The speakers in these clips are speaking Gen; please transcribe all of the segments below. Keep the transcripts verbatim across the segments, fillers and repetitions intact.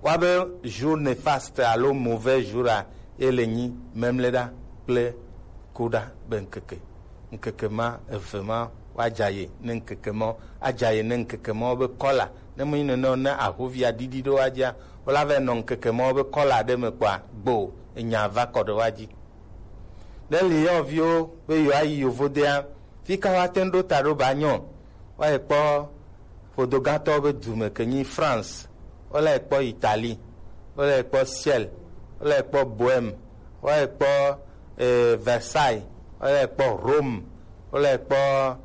Woabe jour néfaste alo mauvais jour a, ye le nyi memleɖa kple kuɖa be ŋkeke. Ŋkeke ma eve ma, woadza ye ne ŋkeke ma, adza ye ne ŋkeke ma be kɔla. Ne menyi nene o, ne ahovia ɖiɖi ɖo woadzia, wola va nɔ ŋkeke ma be kɔla ɖe me kpɔa, gbo enya va kɔ ɖe woadzi. Ne Lyon viwo be yewoayi yovodea, fi ka woate ŋu ɖo ta ɖo ba nyɔ? Woayi kpɔ ƒodogãtɔwo be dume ke nyi France, wole kpɔ Italie, wole kpɔ Ciel, wole kpɔ Bohème, wole kpɔ eh, Versailles, wole kpɔ Rome, wole kpɔ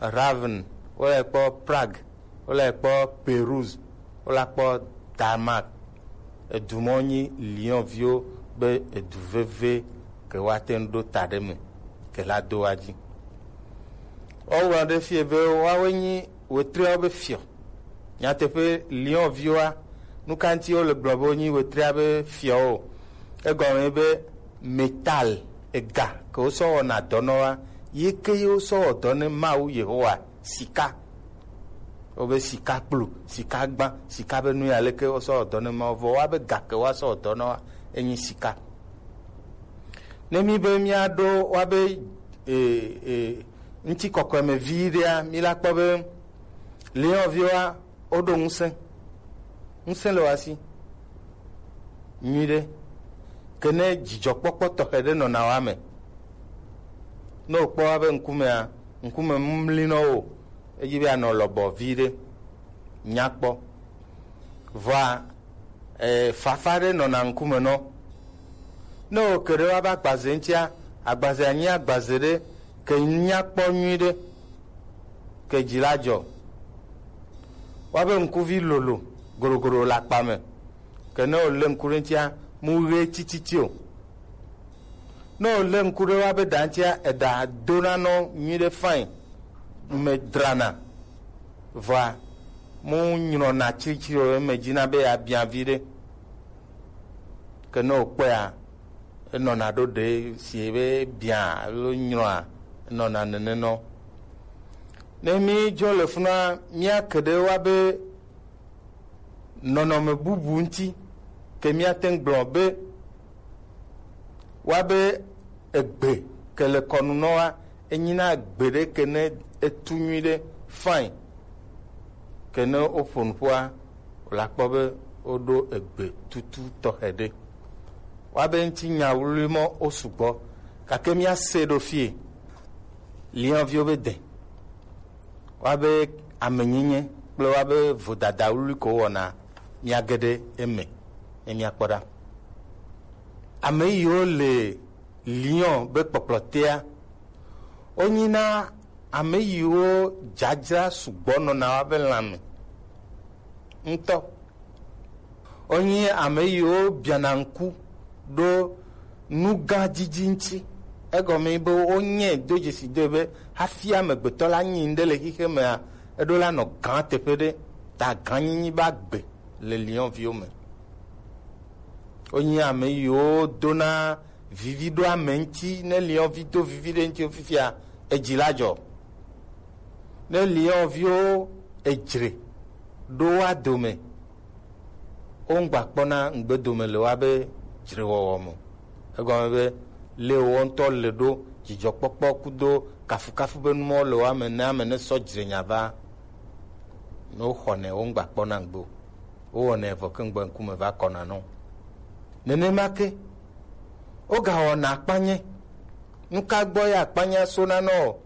Ravenne, wole kpɔ Prague, wole kpɔ Pérouse, wole kpɔ Damas. Edu mɔ nyi Lyon viwo be edu veve ke woate ŋu ɖo ta ɖe me ke la do wa dzi. Woŋlɔ ɖe fie be woawoe nyi wetreawo be fiɔ. Nyateƒe, Lyon viwoa, nu ka ŋuti wole gblɔ be wonyi wetrea be fiɔwo? Egɔme be métal, ega ke wosɔ wɔna dɔ nɔ wa, ye ke ye wosɔ wɔ dɔ ne Mawu Yehowa, sika. Wobe sika kplu, sika gbã, sika be nu ya leke wosɔ wɔ dɔ ne Mawu, vɔ woabe ga ke woasɔ wɔ dɔ nɔ wa, enyi sika. Ne mi be miaɖo woabe e, e, ŋutikɔkɔe me vi ɖea, mi la kpɔ be Lyon viwoa, woɖo ŋusẽ. Ŋusẽ le woa si nyuiɖe. Ke ne dzidzɔkpɔkpɔ tɔxɛ ɖe nɔna woa me, ne wòkpɔ woabe ŋkumea, ŋkume mli nɔ wo, edzi be anɔ lɔbɔ vi ɖe, nyakpɔ. Vɔa, eh, fafa ɖe nɔna ŋkume nɔ. Ne wòke ɖe woabe agbaze ŋutia, agbazea nyi agbaze ɖe ke nyakpɔ nyuiɖe, ke dzi la dzɔ. Woabe ŋkuvi lolo goɖogoɖo le akpa me, ke ne wòlé ŋku ɖe ŋutia, mu ɣe tititi o. Ne wòlé ŋku ɖe woabe ɖa ŋutia, eɖa dona nɔ nyuiɖe fain, me drana, vɔa mu nyrɔna tsiritsiri o, eme dzina be yeabia vi ɖe. Ke ne wòkpɔea, enɔna ɖo ɖe si be bia alo nyrɔa, enɔna nene nɔ. Ne mi dzo le funua, mia ke ɖe woabe nɔnɔme bubu ŋuti, ke míate ŋu gblɔ be, woabe egbe ke le kɔnu nɔ wa, enyina egbe ɖe ke ne etu nyuiɖe fain, ke ne woƒo nuƒoa, wòle akpɔ be woɖo egbe tutu tɔxɛ ɖe. Woabe ŋutinya wluwlui mɔ wo sugbɔ, gake míase ɖo fie. Lyon viwo be de. Woabe amenyenye kple woabe vodada wluwlui ko wɔna míage ɖe eme ne míakpɔ ɖa. Ame yiwo le Lyon be kpɔkplɔtea, wonyina ame yiwo dzadzra sugbɔ nɔna woabe lãme ŋutɔ. Wonye ame yiwo biana ŋku ɖo nu gã didi ŋuti. Egɔme be wonye do dzesi do be hafi amegbetɔ la nyi ŋɖe le xixe mea, eɖo la nɔ gã teƒe ɖe, ta gãnyinyi be agbe le Lyon viwo me. Wonye ame yiwo dona vivi ɖo ame ŋuti, ne Lyon vi do vivi ɖe ŋuti fifia, edzi la dzɔ. Ne Lyon viwo edzre ɖo woa dome, wo ŋgba kpɔna ŋgbe dome le woabe dzrewɔwɔ me. Egɔme be, le wo ŋutɔ le ɖo dzidzɔkpɔkpɔ kudo kafukafu be numɔwo le woame ne ame ne sɔ dzre nya va. Ne woxɔnɛ, wo ŋgba kpɔna ŋgbe o. Wowɔnɛ vɔ ke ŋgbe ŋkume va kɔna nɔ. Nenema ke, wogawɔna akpanye. Nu ka gbɔ ye akpanye sona nɔ o?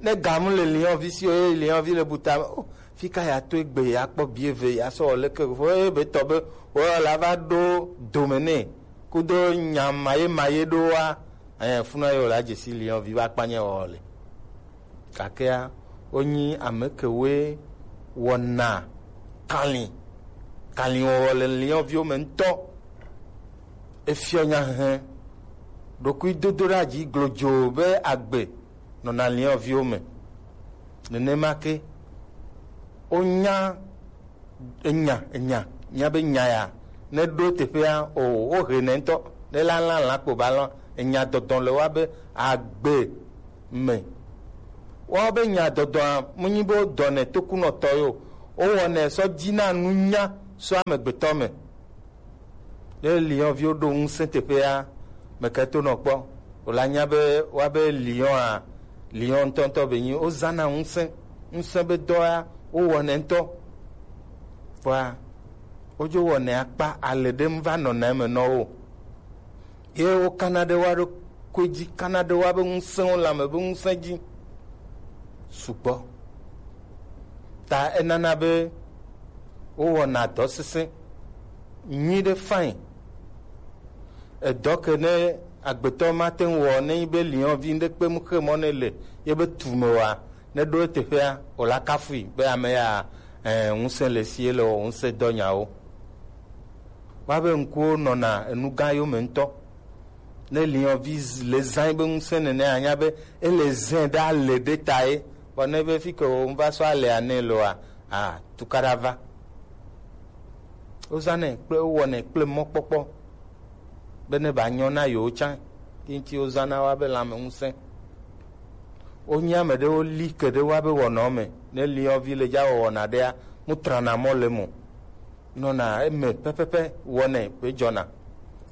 Ne gamu le Lyon vi si o, ye Lyon vi le buta, o, fi ka ya to egbe ya kpɔ bi eve ya sɔ leke vo e be tɔ be, o la va ɖo dome nɛ. Kudo nya maye maye ɖo wa, eh, funa yo la dzesi Lyon vi va akpanye wɔ le. Gakea, wonyi ame kewoe wɔna kalĩ. Kalĩwɔwɔ le Lyon viwo me ŋutɔ. Efiɔ nyahehe, ɖokuidodoɖeadzi glodzo be agbe nɔna Lyon viwo me. Nenema ke, wonya enya, enya, míabe nya ya, ne ɖo teƒea, o, wohe nɛ ŋutɔ, ne la lã lã kpo ba lɔ, enya dɔdɔ le woabe agbe me. Woawo be nya dɔdɔa, menyi be wodɔnɛ tokunɔtɔ yo, wowɔnɛ sɔ dzina nunya sɔ amegbetɔ me. Ne lion viwo ɖo ŋusẽ teƒea, meke to nɔ kpɔ. Wòla nya be woabe lion a, lion ŋutɔŋutɔ be nyi wozana ŋusẽ, ŋusẽ be dɔ ya wowɔnɛ ŋutɔ. Vɔa, wodzo wɔnɛ akpa ale ɖe ŋu va nɔna eme nɔ wo. Ye wokana ɖe woa ɖokui dzi, kana ɖe woa be ŋusẽwo, lãme be ŋusẽ dzi sugbɔ. Ta enana be wowɔna dɔ sesẽ nyui ɖe fain. Edɔ ke ne agbetɔ mate ŋu wɔ ne nyi be liɔnvi ɖe kpe mu xe mɔ ne le ye be tu me oa, ne ɖo eteƒea, wòla kafui be ame ya, eh, ŋusẽ le si ele wɔ ŋusẽ dɔ nyawo. Woabe ŋkuwo nɔna enu gã yome ŋutɔ. Ne liɔnvi z-, le zã be ŋusẽ nene anya be ele zẽ ɖe ale ɖe ta ye. Vɔ ne be fi ke wo ŋva sɔ alea nɛ loa, a, tukaɖa va. Wozãnɛ kple, wowɔnɛ kple mɔkpɔkpɔ be ne ba nyɔ na yewo tsã. Yi ŋuti wozãna woabe lãme ŋusẽ. Wonye ame ɖewo li ke ɖe woabe wɔnɔ me. Ne liɔnvi le dza wɔwɔna ɖea, mu trana mɔ le mo. Nɔna eme pɛpɛpɛ wɔnɛ be dzɔna.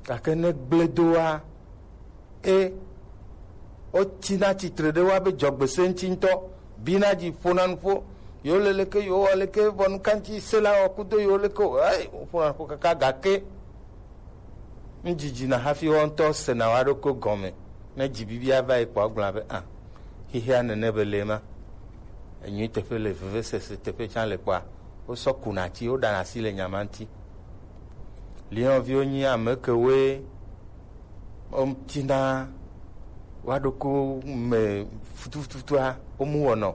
Gake ne gble doa, e, wotsina tsitre ɖe woabe dzɔgbese ŋuti ŋutɔ, bina dzi ƒona nuƒo, yewo le leke, yewo wɔ leke, vɔ nukanti se la wɔ kudo yewo leke o, ei, woƒona nuƒo kaka gake ŋdzidzi na hafi woawo ŋutɔ sena woa ɖokui gɔme. Ne dzi bibi ava yi kpɔ agblɔ be, ah, xexea nene be le ma. Enyui teƒe le, vevesese teƒe tsã le kpɔa, wosɔ kuna asi, woɖana asi le nya ma ŋuti. Liɔnviwo nyi ame kewoe wotina woa ɖokuiwo me futufutua, womu wɔnɔ.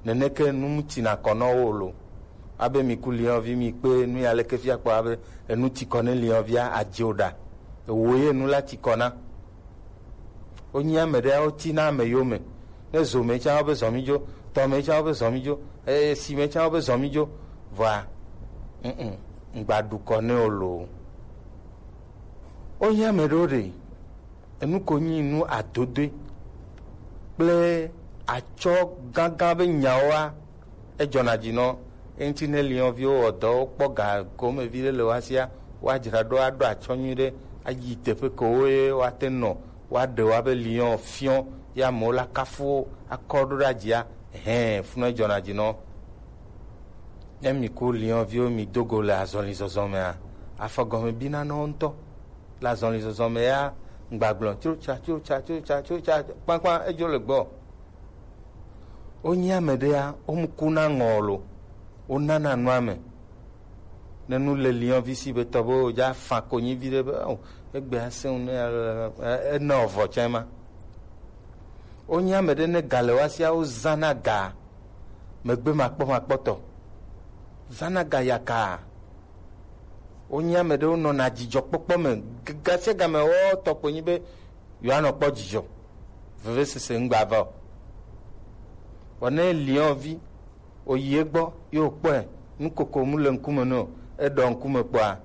Neneke nu mu tsina kɔ nɔ wo lo. Abe mi ku liɔnvi mi kpe nu ya leke fia kpɔ abe enu tsi kɔ ne liɔnvia adze o ɖa. Ewo ye nu la tsi kɔ na. Wonyi ame ɖe, wotina ame yome. Ne zo me tsã, wobe zɔ mi dzo. Tɔ me tsã, wobe zɔ mi dzo. Esi me tsã, wobe zɔ mi dzo. Vɔa, mm, mm, ŋgba ɖu kɔ ne wo lo. Wonyi ame ɖewo ɖe, enu ko nyi nu adodoe kple atsɔ gãgã be nyawoa, edzɔna dzi nɔ. Eŋuti ne liɔnviwo wɔ dɔ, wokpɔ ga gome viɖe le woa sia, woadzra ɖo aɖo atsɔ nyui ɖe, ayi teƒe kewo ye woate nɔ, woaɖe woa be liɔn fiɔ, ye amewo la kafu wo, akɔ ɖo ɖe adzia, hɛn, funɔ edzɔna dzi nɔ. Ne mi ku liɔnviwo mi do go le azɔlizɔzɔ mea, afɔ gɔme bina nɔ wo ŋutɔ. Le azɔlizɔzɔ me ya, ŋgbagblɔ, tsotsa, tsotsa, tsotsa, tsotsa, kpankpan, edzo le gbɔ. Wonyi ame ɖea, womu kuna ŋɔ o lo, wonana nua me. Ne nu le liɔnvi si be tɔ be wodza fa konyi viɖe be, o, egbe asẽ ŋu ne, e, ena ovɔ tsɛ ma. Wonyi ame ɖe ne ga le woa sia, wozãna ga megbe makpɔmakpɔtɔ. Zãna ga yaka. Wonye ame ɖewo nɔna dzidzɔkpɔkpɔ me. G-, ga sia ga me wɔ tɔkpo nyi be yewoanɔ kpɔ dzidzɔ. Vevesese ŋgba va o. Vɔ ne liɔnvi, oyi egbɔ, ye wòkpɔe, nukoko mu le ŋkume nɛ o, eɖɔ ŋkume kpɔa,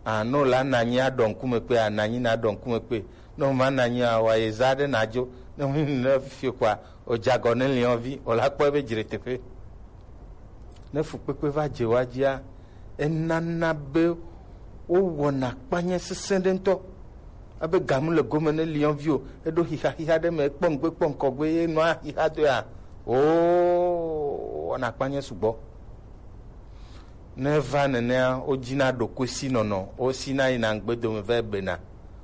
a, ne wòla nanyi aɖɔ ŋkume kpea, nanyi naɖɔ ŋkume kpe. Ne wòma nanyi a, wòayi zã aɖe nadzo. Ne wòyi ne fifi kpɔa, wòdze agɔ ne liɔnvi, wòla kpɔe be dzre teƒe. Ne fukpekpe va dze woa dzia, enana be wowɔna akpanya sesẽ ɖe ŋutɔ. Abe gamu le gome ne liɔnvi o, eɖo xixa xixa ɖe me, ekpɔ ŋgbe kpɔ ŋkɔgbe ye nɔa xixa doa, oo, wɔna akpanya sugbɔ. Ne va nenea, wodzina ɖokuisi nɔnɔ, wosina yina ŋgbe dome va bena.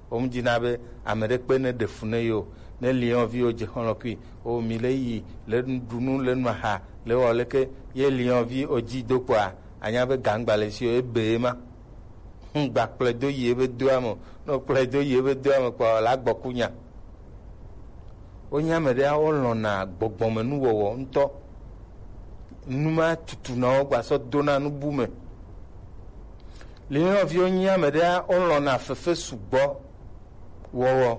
Womdina be ame ɖe kpe ne ɖe fu ne yewo. Ne liɔnviwo dze xɔlɔkui, o mi le yi, le ɖu nu, le nu aha, le wɔ leke, ye liɔnvi o dzi do kpɔa, anya be gangba le si o, ebe ye ma. Ŋgba kplɔe do yi ebe doa me o. Ne wokplɔe do yi ebe doa me kpɔa, wòle agbɔ ku nya. Wonye ame ɖea, wolɔ̃na gbɔgbɔmenuwɔwɔ ŋutɔ. Nu ma tutuna wo gbasɔ dona nubu me. Liɔnviwo nyi ame ɖea, wolɔ̃na fefe sugbɔ wɔwɔ.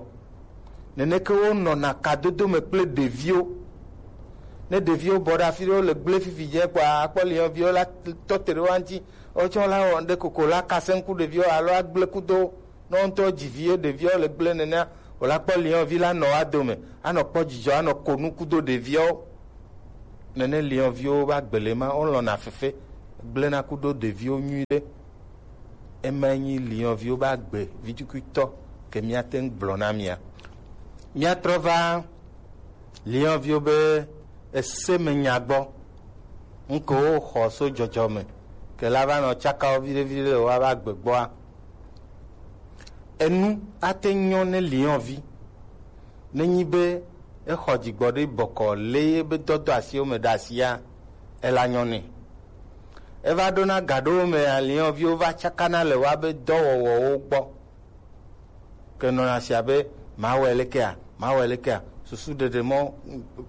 Neneke wonɔna kadodo me kple ɖeviwo. Ne ɖeviwo bɔ ɖe afi ɖe, wole gblẽ fifi dze kpɔa, akpɔ liɔnviwo la tɔ te ɖe woa ŋuti. Wotsɔ la wɔ ŋɖe koko la kasẽ ŋku ɖeviwo alo agblẽ kudo. Ne wo ŋutɔ dzi vi ye ɖeviwo le gblẽ nenea, wòla kpɔ liɔnvi la nɔ woa dome, anɔ kpɔ dzidzɔ, anɔ ko nu kudo ɖeviwo. Nene liɔnviwo va gbele ma, wolɔ̃na fefe, gblẽna kudo ɖeviwo nyuiɖe. Ema nyi Lionviwo be agbe vitukutɔ ke míate ŋu gblɔ na mia. Míatrɔ va Lionviwo be ese me nya gbɔ. Ŋke wo xɔ so dzɔdzɔ me ke la va nɔ tsakawo viɖe viɖe le woa be agbe gbɔa. Enu ate nyɔ ne Lionvi nenyi be exɔ dzigbɔ ɖe bɔkɔ le ye be dɔdɔ asiwo me ɖe asia, ela nyɔ nɛ. Eva ɖona ga ɖewo me aliɔviwo va tsakana le woa be dɔwɔwɔwo gbɔ. Ke nɔna sia be mawɔe lekea, mawɔe lekea. Susu ɖeɖe mɔ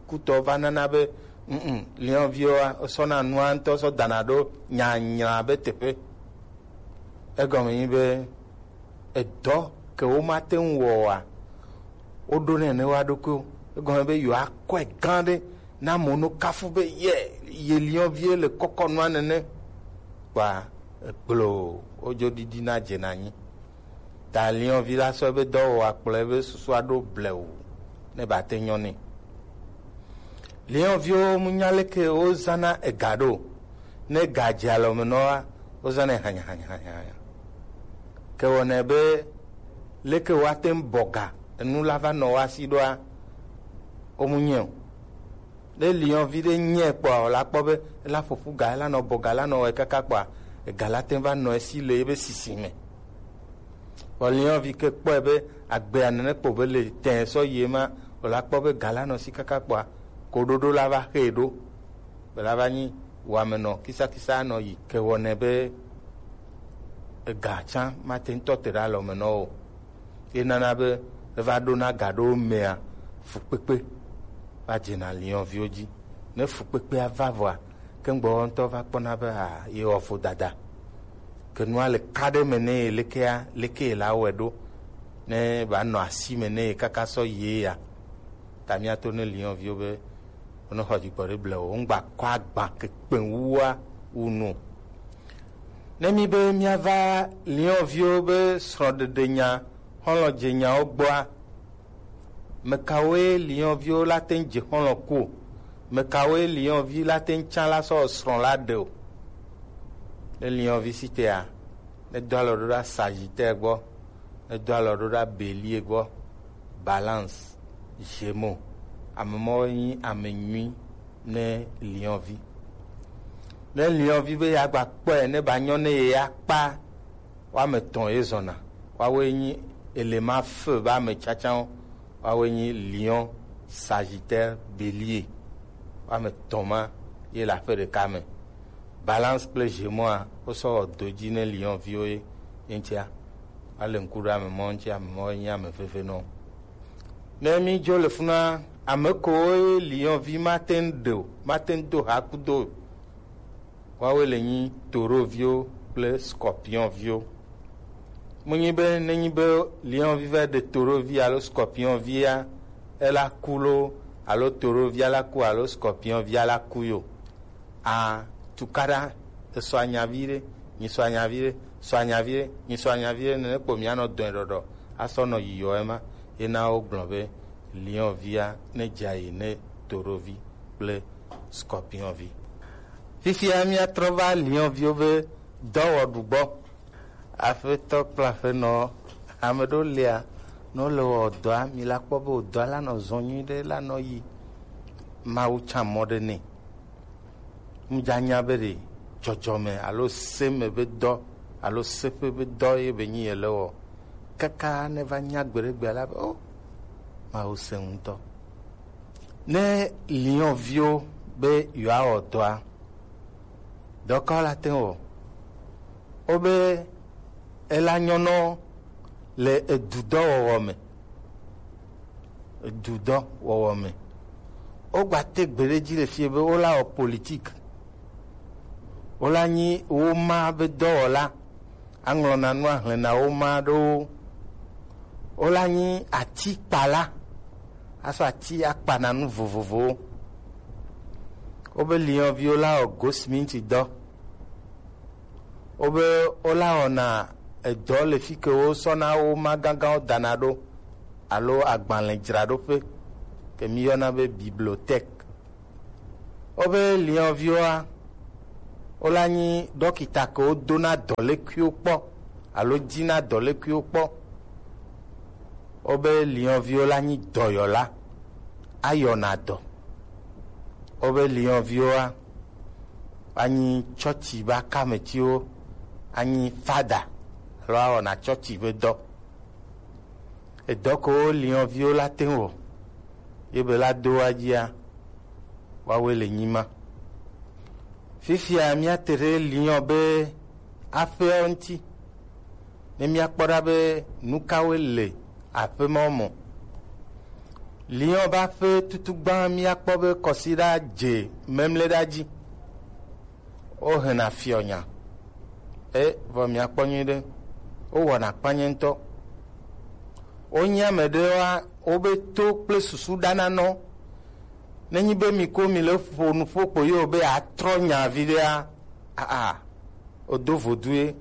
kutɔ va nana be mm liɔviwoa sɔna nua ŋutɔ sɔ dana ɖo nyanyra be teƒe. Egɔme nyi be edɔ ke womate ŋu wɔ oa, woɖo nɛ ne woa ɖokuiwo. Egɔme be yewoakɔe gã ɖe na amewo no kafu be ye ye liɔvie le kɔkɔ nua nene. Kpa egblo wodzo ɖiɖi na dze na nyi. Ta liɔvi la sɔ ebe dɔwɔwɔ akplɔ ebe susua ɖo blewu ne ba te nyɔ nɛ. Liɔviwo mu nya leke wozana ega ɖo. Ne ga dze alɔ me nɔa, wozanɛ hanya hanya hanya hanya. Ke wɔnɛ be leke woate ŋu bɔ ga enu la va nɔ woa si ɖoa, womu nyɛ o. Ne liɔvi ɖe nyɛ kpɔa, wòla kpɔ be ela ƒoƒu ga, ela nɔ bɔ ga, ela nɔ wɔe kaka kpɔa, ega la te va nɔ esi le ebe sisi me. Vɔ liɔvi ke kpɔe be agbea nene kpo be le tɛ sɔ yi ema, wòla kpɔ be ga la nɔ si kaka kpɔa, koɖoɖo la va xee ɖo. Bela va nyi wame nɔ kisakisa nɔ yi ke wɔnɛ be ega tsã mate ŋutɔ te ɖe alɔ me nɔ o. Ye nana be eva ɖona ga ɖewo mea, fukpekpe va dzena liɔviwo dzi. Ne fukpekpea va vɔa, ke ŋgbɔ ŋutɔ va kpɔna be a ye wɔ vodada. Ke nua le ka ɖe me ne ye lekea, leke ye la wɔe ɖo ne ba nɔ asi me ne ye kaka sɔ ye ya. Ta míato ne liɔviwo be wone xɔ dzigbɔ ɖe blewu, ŋgba kɔ agba ke kpɛwua wu nu. Ne mi be míava liɔviwo be srɔ̃ɖeɖe nya, xɔlɔ̃dze nyawo gbɔa, mekawoe liɔviwo la te ŋu dze xɔlɔ̃ ku o? Mekawoe liɔvi la te ŋu tsã la sɔ srɔ̃ la ɖe o? Ne liɔvi si tea, ne do alɔ ɖo ɖa Sagittaire gbɔ, ne do alɔ ɖo ɖa Bélier gbɔ, Balance, Gémeaux, ame mɔwo nyi ame nyui ne liɔvi. Ne liɔvi be yeagba kpɔe ne ba nyɔ ne ye ya kpa, woame etɔ̃ ye zɔna. Woawoe nyi élément feu be ame tsatsawo. Woawoe nyi Lion, Sagittaire, Bélier. Woame etɔ̃ ma ye le aƒe ɖeka me. Balance kple Gémeaux a, wosɔ wɔ do dzi ne liɔviwo ye, ye ŋutia. Ale ŋku ɖe ame mɔ ŋuti, ame mɔ nye ame veve nɔ. Ne mi dzo le funa, ame kowo ye liɔvi mate ŋu ɖe o, mate ŋu do ha kudo o. Woawoe le nyi toroviwo kple scorpionviwo. Menyi be nenyi be liɔvi va ɖe torovi alo scorpionvia, ela ku lo, alo torovia la ku alo scorpionvia la ku yo. A tukaɖa, esɔ anyavi ɖe, nyisɔ anyavi ɖe, sɔ anyavi ɖe, nyisɔ anyavi ɖe, nene kpo mianɔ dɔe ɖɔɖɔ asɔ nɔ yiyɔ ema. Yena wogblɔ be liɔvia ne dza yi ne torovi kple scorpionvi. Fifia míatrɔ va liɔviwo be dɔwɔɖu gbɔ. Aƒetɔ kple aƒenɔ, ame ɖewo lia, ne wole wɔ dɔa, mi la kpɔ be wò dɔa la nɔ zɔ nyuiɖe, la nɔ yi. Mawu tsã mɔ ɖe nɛ. Ŋdza nya be ɖe dzɔdzɔme alo se me be dɔ alo seƒe be dɔ ye be nyi yele wɔ. Kaka ne va nya gbeɖegbea la be, o, Mawu se ŋutɔ. Ne liɔviwo be yewoawɔ dɔa, dɔkawo la te ŋu wɔ. Wobe ela nyɔnɔ le edudɔwɔwɔ me. Edudɔwɔwɔ me. Wogba te gbe ɖe dzi le fie be wola wɔ politik. Wola nyi woma be dɔwɔla. Aŋlɔna nu ahlẽna woma ɖo. Wola nyi atikpala. Asɔ ati akpana nu vovovowo. Wobe liɔviwo la wɔ gosiminti dɔ. Wobe wola wɔna edɔ le fi ke wosɔna woma gãgãwo dana ɖo alo agbalẽdzraɖoƒe ke míyɔna be bibliothèque. Wobe liɔviwoa, wola nyi ɖɔkita ke wodona dɔlékuiwo kpɔ alo jina dɔlekuiwo kpɔ. Wobe liɔnviwo la nyi dɔyɔla, ayɔna dɔ. Wobe liɔnviwoa, anyi tsɔtsi be akametiwo, anyi fada alo awɔna tsɔtsi be dɔ. Edɔ ko wo liɔnviwo la te ŋu wɔ, ye be la do wa dzia, woawoe le nyi ma. Fifia míate ɖe liɔ be aƒeawo ŋuti, ne míakpɔ ɖa be nu kawoe le aƒe mawo me. Liɔ be aƒe tutugbã míakpɔ be kɔsiɖa dze memleɖa dzi. Wohena fiɔnya. E, vɔ miakpɔ nyuie ɖe. Wowɔna kpanye ŋutɔ. Wonye ame ɖewoa, wobe to kple susu ɖana nɔ. Nenyi be mi ko mi le ƒo nuƒo kpo yewo be atrɔ nya viɖea, aa, wodo vodue.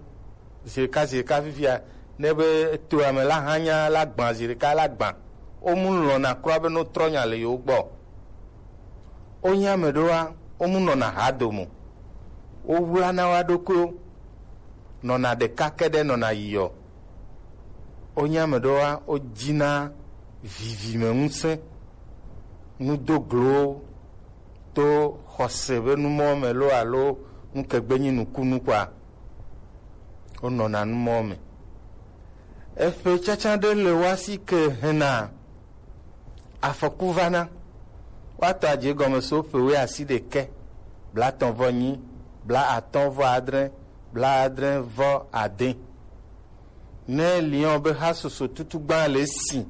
Zirika, zirika fifia, ne be to ame la hã nya la gbã, zirika la gbã. Womu lɔ̃na kura be no trɔ nya le yewo gbɔ. Wonye ame ɖewoa, womu nɔna ha dome o. Wowlana wo ɖokuiwo, nɔna ɖeka ke ɖe nɔna yiɔ. Wonye ame ɖewoa, wodina vivime ŋusẽ, nudoglowo to xɔse be numɔ me lo alo nukegbe nyi nukunu kɔa, wonɔna numɔ me. Eƒe tsatsa ɖe le woasi ke hena afɔku vana. Woatɔ adze gɔme so ƒe wuiasiɖekɛ, blaetɔ̃ vɔ enyi, blaatɔ̃ vɔ adre, blaadre vɔ ade. Ne liɔ be hasoso tutugbã le si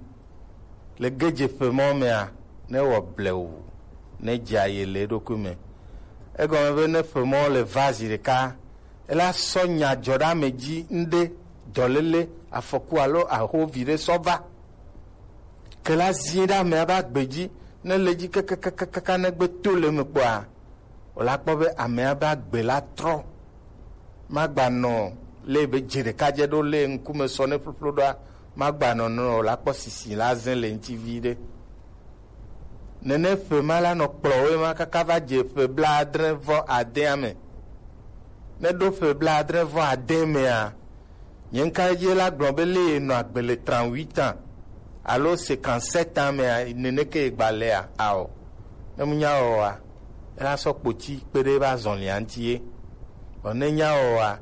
le gedze ƒe mɔ mea, ne wɔ blewu, ne dze aye le eɖokui me. Egɔme be ne ƒe mɔ le va zi ɖeka, ela sɔ nya dzɔ ɖe ame dzi ŋɖe, dɔléle, afɔku alo ahovi ɖe sɔ va. Ke la zie ɖe amea be agbe dzi, ne le dzi kakakakaka ne gbe to le eme kpɔa, wòla kpɔ be amea be agbe la trɔ. Magbanɔ le be dze ɖeka dze ɖo le ŋkume sɔ ne ƒloƒlo ɖoa, magbanɔ nɔ wòla kpɔ sisi la zẽ le ŋuti vi ɖe. Nene ƒe ma la nɔ kplɔwoe ma kaka va dze ƒe blaadre vɔ adea me. Ne ɖo ƒe blaadre vɔ ade mea, nye ŋka ye la gblɔ be le nɔ agbe le trente-huit ans alo cinquante-sept ans mea, nene ke gba lea, ao. Ne mu nya wɔa, ela sɔ kpoti kpe ɖe eba zɔlia ŋuti ye. Vɔ ne nya wɔa,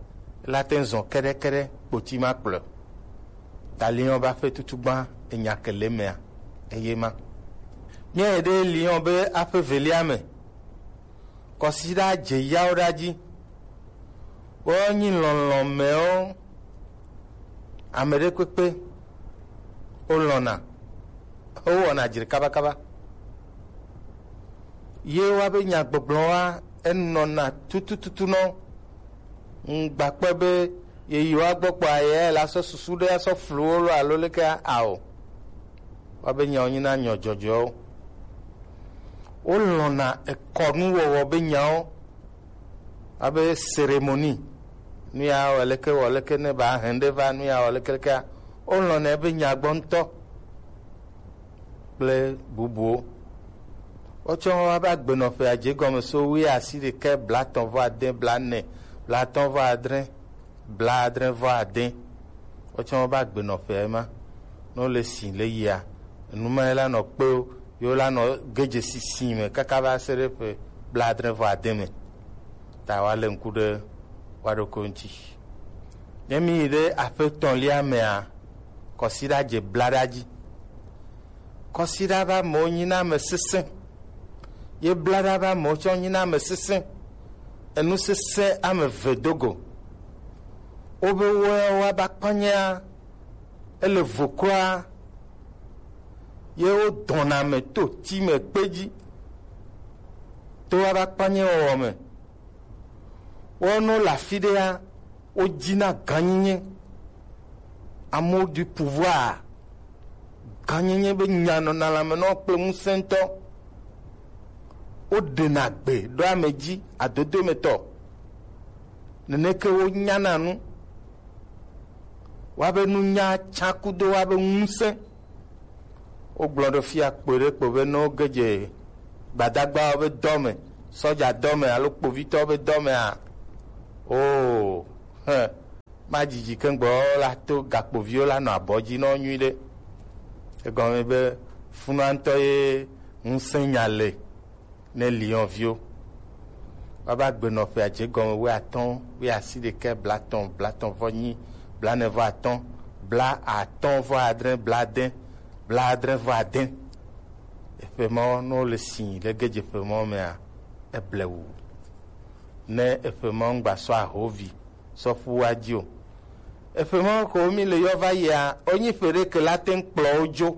ela te zɔ keɖekeɖe kpoti ma kplɔ. Ta liɔ ba ƒe tutugbã enya ke le mea, eye ma. Míayi ɖe liɔ be aƒe velia me. Kɔsiɖa dze yawo ɖa dzi. Wonyi lɔlɔ̃mewo. Ame ɖe kpekpe wolɔ̃na, wowɔna dzre kabakaba. Ye woabe nyagbɔgblɔ wa enɔna tutututu nɔ. Ŋgbakpe be yeyiwo agbɔ kpɔ ayɛ la sɔ susu ɖe asɔ flu wo lo alo leke ao. Woabe nyawo nyina nyɔ dzɔdzɔwo. Wolɔ̃na ekɔnuwɔwɔ be nyawo abe cérémonie. Nu ya wɔ leke wɔ leke ne ba hɛn ɖe va nu ya wɔ leke lekea, wolɔ̃nɛ be nya gbɔ ŋutɔ kple bubuwo. Wotsɔ woƒe agbenɔƒea dze gɔme so wuiasiɖekɛ, blaetɔ̃ vɔ ade, blaene, blaatɔ̃ vɔ adre, blaadre vɔ ade. Wotsɔ woƒe agbenɔƒea ma. Ne wole si le yia, enu ma ye la nɔ kpe wo, ye wo la nɔ ge dze sisi me kaka va se ɖe ƒe blaadre vɔ ade me. Ta woalé ŋku ɖe woa ɖokui ŋuti. Ne mi yi ɖe aƒe etɔ̃lia mea, kɔsiɖa dze blaɖa dzi. Kɔsiɖa ƒe amewo nyina ame sesẽ. Ye blaɖa ƒe amewo tsɔ nyina ame sesẽ. Enu sesẽ ame eve do go. Wobe woawo aba kpanyea, ele vo kura. Ye wodɔna ame to ti me kpe dzi. To aba kpanye wɔwɔ me. Wono le afi ɖea, wodina gãnyenye. Amour du pouvoir. Gãnyenye be nya nɔna lãme nɔ kple ŋusẽ ŋutɔ. Woɖena gbe ɖo ame dzi adodo me tɔ. Neneke wonyana nu. Woabe nunya tsakudo woabe ŋusẽ. Wogblɔ ɖo fia kpɔe ɖe kpo be ne woge dze gbadagbawo be dɔ me, sɔdza dɔ me alo kpovitɔwo be dɔ mea, oo, hẽ, ma dzidzi kengbe la to gakpoviwo la nɔ abɔ dzi nɔ nyuiɖe. Egɔme be funua ŋutɔ ye ŋusẽ nya le ne liɔnviwo. Woava gbe nɔƒe adze gɔme wuiatɔ̃, wuiasiɖekɛ, blatɔ̃, blatɔ̃ vɔ nyi, blanɛ vɔ atɔ̃, blatɔ̃ vɔ adre, bladẽ, bladre vɔ adẽ. Eƒe mawo ne wole si le gedze ƒe mawo mea, eble wu. Ne eƒe mawo ŋgba sɔ ahovi sɔ ƒu wa dzi o. Eƒe mawo ko mi le yɔ va yia, wonyi ƒe ɖe ke la te ŋu kplɔ wo dzo.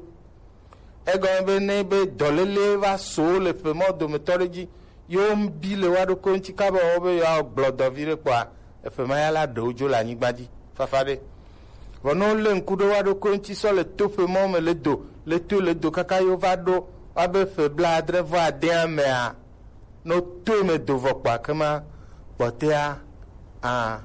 Egɔme be ne be dɔléle va so le ƒe mawo dometɔ ɖe dzi, yewo bi le wa ɖokui ŋuti kaba wo be yewoa gblɔ dɔ vi ɖe kpɔa, eƒe ma ya la ɖe wo dzo le anyigba dzi fafa ɖe. Vɔ ne wolé ŋku ɖe wa ɖokui ŋuti sɔ le to ƒe mawo me le do, le toe le do kaka yewo va ɖo wa be ƒe blaadre vɔ adea mea, ne wotoe me do vɔ kpɔa, ke ma kpɔtɔea, a,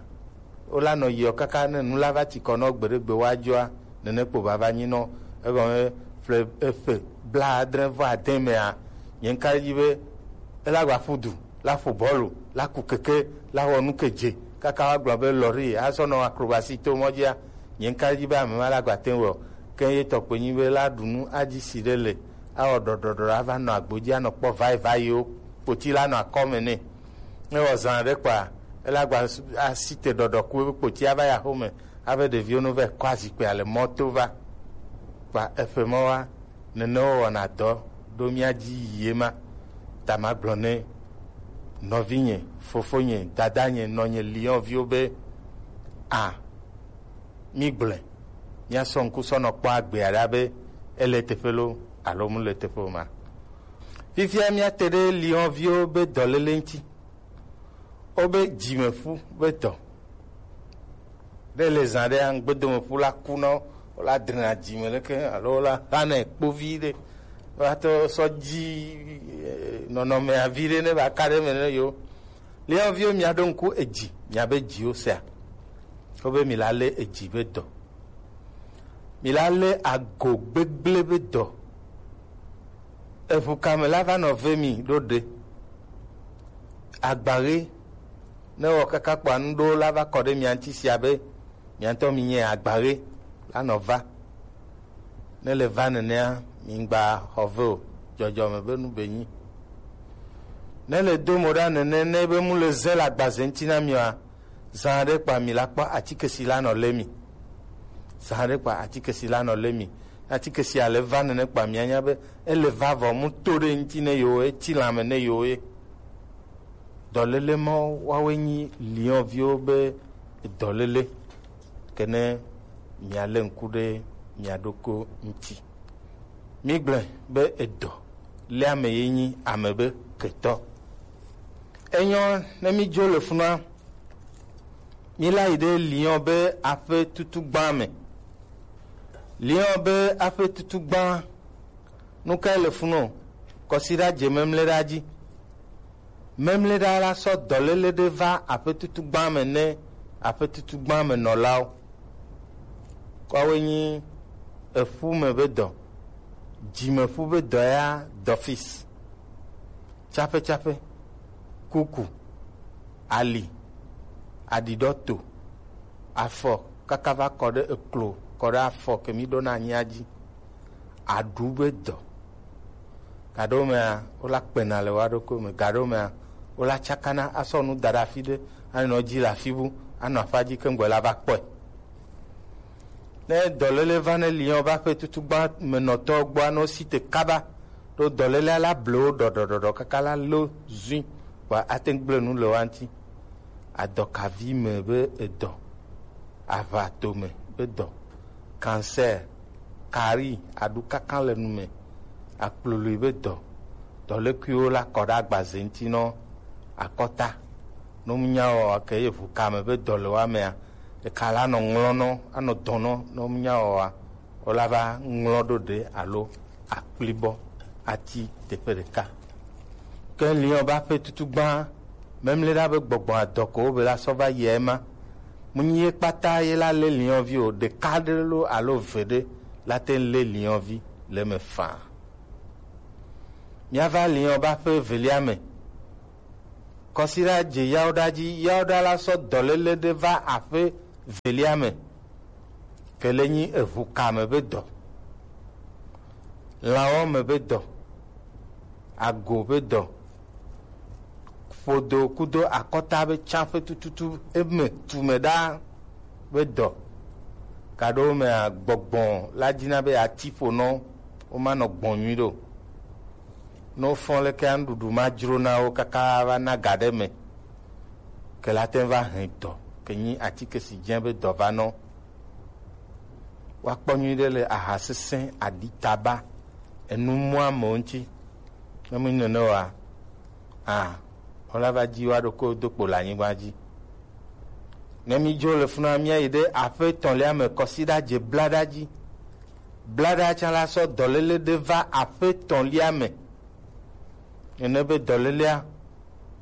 wola nɔ yiɔ kaka ne nu la va tsi kɔ nɔ gbeɖegbe woadzɔa, nene kpo bava nyi nɔ. Egɔme ƒle eƒe blaadre vɔ ade mea, nye ŋka ɖe edzi be ela gba ƒu du, la ƒo bɔlu, la ku keke, la wɔ nu ke dze, kaka woagblɔ be lɔri asɔ nɔ akrobasi to mɔ dzia, nye ŋka ɖe edzi be ame ma la gba te ŋu wɔ. Ke ye tɔkpe nyi be la ɖu nu adzi si ɖe le, awɔ ɖɔɖɔɖɔ ava nɔ agbo dzi anɔ kpɔ vayivayiwo, kpoti la nɔ akɔme nɛ. Ne wɔ zã ɖe kpɔa, ele agba asi te ɖɔɖɔ ku ebe kpoti ava ya xome, ave ɖeviwo no va kɔ azikpia le mɔto va. Kpa eƒe mɔ wa, nene wo wɔna dɔ ɖo mía dzi yie ma. Ta magblɔ ne nɔvinye, fofonye, dadanye, nɔnye, liɔnviwo be, a, mí gblɔe, míasɔ ŋku sɔ nɔ kpɔ agbea ɖa be ele teƒe lo alo mu le teƒe o ma. Fifia míate ɖe liɔnviwo be dɔléle ŋuti. Wobe dzimeƒu be dɔ. Ne le zã ɖe, ŋgbedomeƒu la ku na wo, wola drena dzime leke alo wola xanɛ kpovi ɖe. Woatɔ sɔ dzi, eh, nɔnɔmea vi ɖe ne va ka ɖe me ne yo. Liɔnviwo mia ɖo ŋku edzi, mia be dziwo sea. Wobe mi la lé edzi be dɔ. Mi la lé ago gbegblẽ be dɔ. Eʋu kame la va nɔ ve mi ɖo ɖe. Agbaɣe ne wɔ kaka kpɔa nu ɖewo la va kɔ ɖe mia ŋuti sia be mia ŋutɔ mi nye agbaɣe la nɔ va. Ne le va nenea, mi ŋgba xɔ ve o, dzɔdzɔme be nu be nyi. Ne le do mo ɖa nene, ne be mu le ze le agbaze ŋuti na mi oa, zã aɖe kpa mi la kpɔ atike si la nɔ lé mi. Zã aɖe kpa atike si la nɔ lé mi. Atike sia le va nene kpa mia nya be ele va vɔ mu to ɖe ŋuti ne yewo, eti lãme ne yewo ye. Dɔléle mawo woawoe nyi liɔnviwo be dɔléle. Ke ne mia lé ŋku ɖe mia ɖokui ŋuti. Mi gblɔe be edɔ lé ame ye nyi ame be ketɔ. Enyɔ ne mi dzo le funua, mi la yi ɖe liɔn be aƒe tutu gbã me. Liɔn be aƒe tutu gbã, nu kae le funu o? Kɔsiɖa dze memleɖa dzi. Memleɖa la sɔ dɔléle ɖe va aƒe tutu gbã me ne aƒe tutu gbã me nɔlawo. Kɔawoe nyi eƒu me be dɔ, dzimeƒu be dɔ ya dɔfis. Tsaƒetsaƒe, kuku, ali, aɖiɖɔto, afɔ kaka va kɔ ɖe eklo, kɔ ɖe afɔ ke mi ɖona anyia dzi, aɖu be dɔ. Gaɖewo mea, wola kpena le woa ɖokui me. Gaɖewo mea, wola tsakana asɔ nu da ɖe afi ɖe, anɔ dzi le afi bu, anɔ aƒa dzi keŋgbɔ la va kpɔe. Ne dɔléle va ne liɔn va ƒe tutu gbã me nɔtɔ gbɔa, ne wosi te kaba, ɖo dɔlélea la ble wo ɖɔɖɔɖɔɖɔ kaka la lo zui, vɔa ate ŋu gblẽ nu le woa ŋuti. Adɔkavi me be edɔ, aʋatome be dɔ, cancer, kari, aɖukaka le nu me, akploloe be dɔ, dɔlékuiwo la kɔ ɖe agbaze ŋuti nɔ akɔta. Ne womu nya wɔa, ke ye ʋu kame be dɔ le woa mea, eka la nɔ ŋlɔ nɔ, anɔ dɔ nɔ, ne womu nya wɔa, wola va ŋlɔ ɖo ɖe alo akplibɔ ati teƒe ɖeka. Ke liɔn be aƒe tutu gbã, memleɖa be gbɔgbɔ adɔ ko wobe la sɔ va yia ema. Mu nyi ye kpata ye la lé liɔnvi o, ɖeka ɖe lo alo ve ɖe la te ŋu lé liɔnvi le eme faa. Míava liɔn be aƒe evelia me. Kɔsiɖa dze yawoɖa dzi, yawoɖa la sɔ dɔléle ɖe va aƒe Velia me, ke le nyi eʋu ka me be dɔ, lãwo me be dɔ, ago be dɔ, ƒodo kudo akɔta be tsaƒe tututu eme tu me ɖaa be dɔ. Gaɖo mea, gbɔgbɔ la dina be ati ƒo nɔ, womanɔ gbɔn nyui ɖo. Ne wofɔ leke nuɖuɖu ma dzro na wo kaka va na ga ɖe me, ke la te va hɛn dɔ, ke nyi atike si dze be dɔ va nɔ. Woakpɔ nyuiɖe le aha sesẽ, aɖi, taba, enu mɔ amewo ŋuti. Ne menyi nene oa, a, wola va dzi woaɖokuiwo do kpo le anyigba dzi. Ne mídzo le funa, míayi ɖe aƒe etɔ̃lia me, kɔsiɖa dze blaɖa dzi. Blaɖa tsã la sɔ dɔléle ɖe va aƒe etɔ̃lia me. Nene be dɔlélea,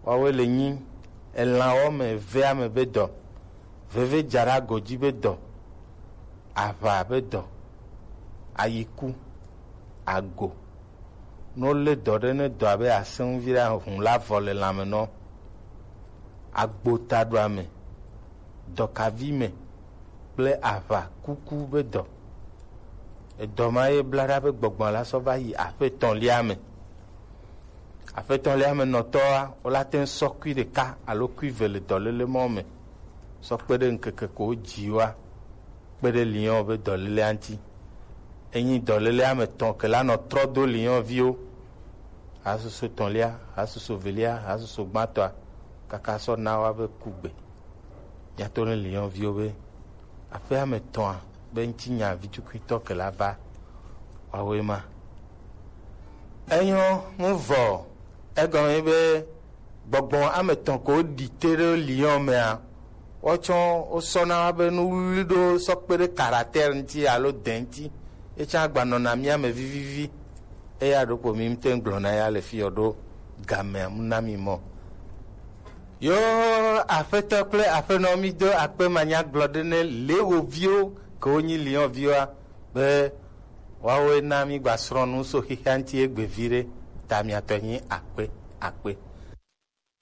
woawoe le nyi elãwo me evea me be dɔ, veve dza ɖe ago dzi be dɔ, aʋa be dɔ, ayiku, ago. Ne wolé dɔ ɖe, ne dɔa be asẽ ŋu viɖe, ahũ la vɔ le lãme nɔ, agbotaɖoa me, dɔkavi me kple aʋa kuku be dɔ. Edɔ ma ye bla ɖa be gbɔgbɔ la sɔ va yi aƒe etɔ̃lia me. Aƒe etɔ̃lia me nɔtɔa, wola te ŋu sɔ kui ɖeka alo kui eve le dɔléle mɔ me, sɔ kpe ɖe ŋkeke ko wodzi woa, kpe ɖe lion be dɔlélea ŋuti. Enyi dɔlélea me tɔ̃ ke la nɔ trɔ do lion viwo. Hasusu etɔ̃lia, hasusu evelia, hasusu gbãtɔa, kaka sɔ na woa be kugbe. Míato ne lion viwo be aƒea me tɔ̃a be ŋutinya vitukuitɔ ke la va woawoe ma. Enyo, mu vɔ, egɔme be gbɔgbɔ ame etɔ̃ ko ɖi te ɖe lion mea, wotsɔ wosɔna be nuwuwui ɖo sɔ kpe ɖe caractère ŋuti alo dɛ ŋuti, etsã gbanɔna mía me vivivi. Eya ɖokpo mi ŋute gblɔna ya le fi yɔ ɖo gamea mu na mi mɔ. Yo, aƒetɔ kple aƒenɔ, mi do akpe manyagblɔ ɖe ne le wo viwo ke wonyi lion viwoa, be woawoe na mi gba srɔ̃ nu so xixia ŋuti egbe viɖe. Ta miatɔ nyi akpe, akpe.